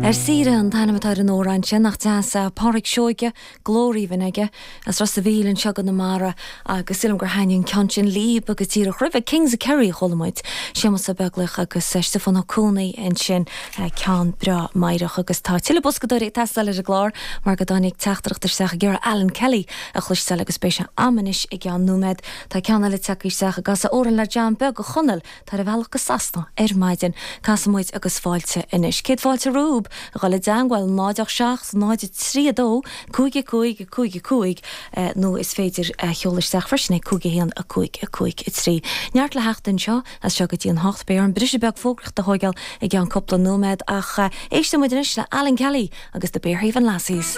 Ar Saoire an t-ainm atá ar an amhrán sin, nach deas é? Pádraic Seoige, glór aoibhinn aige, as Ros a' Mhíl anseo i gConamara agus sílim gur thaitnigh an ceann sin libh agus díreach roimhe, Kings of Kerry a chuala muid, Séamus Ó Beaglaoich agus Stiofán Ó Cuanaigh ansin, ceann breá meidhreach agus tá tuilleadh boscadóirí ag teastáil ar an gclár mar go dtáinig teachtaireacht isteach ag iarraidh Alan Kelly a chloisteáil agus beidh sé a'm anois i gceann nóiméad. Tá ceann eile tagtha isteach ag casadh amhrán le John Beag a Chonaill Tá ar a bhealach go Sasana ar maidin. Casfaidh muid agus fáilte anois. Céad fáilte romhaibh a dhul i dteangmháil 0 8 7 0 3 2 5 5 5 5 nó is féidir a sheoladh isteach freisin ag 5 1 5 5 3. Neart le theacht anseo as seo go dtí an hocht. Beidh orm briseadh beag fógraíochta a thóigeáil i gceann cúpla nóiméad ach éisteann muid anois le Alan Kelly agus The Berehaven Lassies.